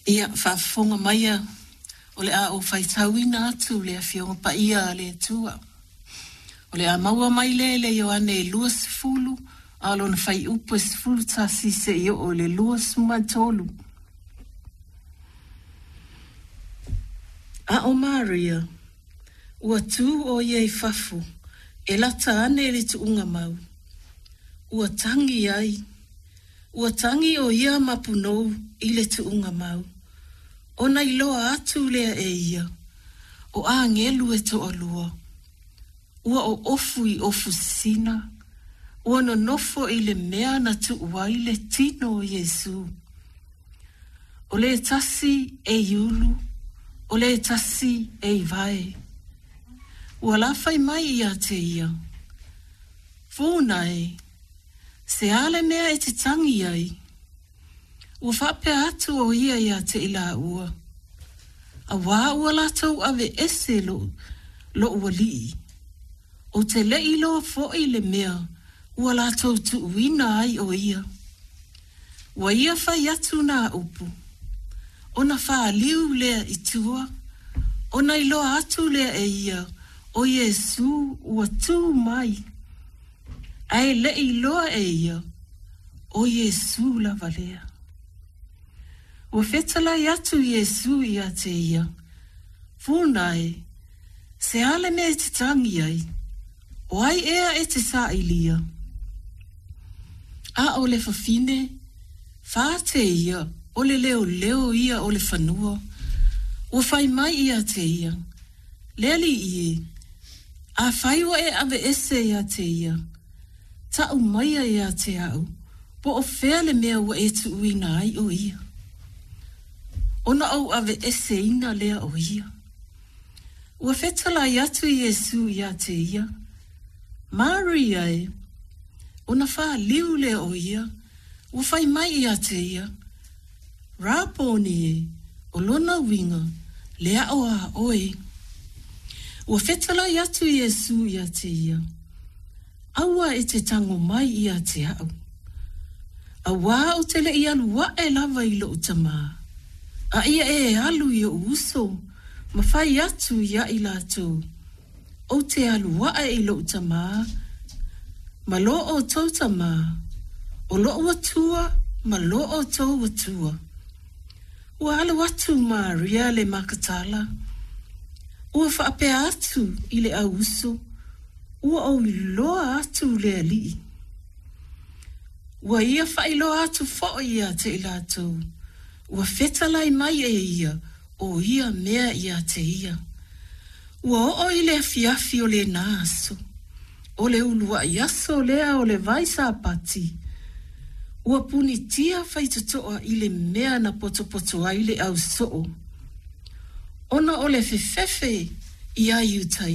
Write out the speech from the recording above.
Ia, faafofoga maia o le a ou faitauina atu le Afioga Paia a le Atua. O le a maua mai lea i le Ioane 20, a o lona fuaiupu e 11 seia oo i le 23. A o Maria, ua tu ʻo ia i fafo e lata ane i le tuugamau, ua tagi ai, ua tagi ʻo ia ma punou i le tuugamau, ona iloa atu lea e ia, o agelu e toalua, ua oofu i ofu sisina, ua nonofo i le mea na tuu ai le tino o Iesu. O le tasi e i ulu, o le tasi e i vae. Ua lafai mai ia te ia, Funa e, se a le mea e te tagi ai? Ua faapea atu ʻo ia iā te i lāua, Auā ua latou aveese loʻu, loʻu aliʻi. Ou te le i iloa foʻi le mea ua latou tuuina ai ʻo ia. Ua ia fai atu nā upu, ona fāliu lea i tua, ona iloa atu lea e ia ʻo Iesū ua tū mai, a e le i iloa e ia ʻo Iesū lava lea. Ua fetalai atu Iesū iā te ia, Funa e, se a le mea e te tagi ai? O ai ea e te sailia? A o le fafine, fā te ia, o le leoleo ia o le fanua, ua fai mai ia te ia, Le Alii e, afai ua e aveese ia te ia, taʻu maia ia te aʻu, po o fea le mea ua e tuuina ai ʻo ia? Ona ou aveeseina lea o ia. Ua fetalai atu Iesū iā te ia, Maria e! Ona fāliu lea o ia, ua fai mai ia te ia, Raponi e, o lona uiga, le aʻo a ʻoe. Ua fetalai atu Iesū iā te ia, Aua e te tago mai ia te aʻu. Auā ou te le i alu aʻe lava i loʻu tamā, a ia e alu i oʻu uso ma fai atu ia i latou, ou te alu aʻe i loʻu tamā, ma lo ʻoutou tamā, o loʻu Atua ma lo ʻoutou Atua. Ua alu atu Maria le Makatala, ua faapea atu i le ʻau uso, Ua ou iloa atu le Alii. Ua ia faailoa atu foʻi ia te i latou, ua fetalai mai e ia o ia mea ia te ia. Ua oo i le afiafi o lena aso, o le uluaʻi aso lea o le vai Sapati, ua punitia faitotoa i le mea na potopoto ai le ʻau soo, ona o le fefefe ia Iutaia.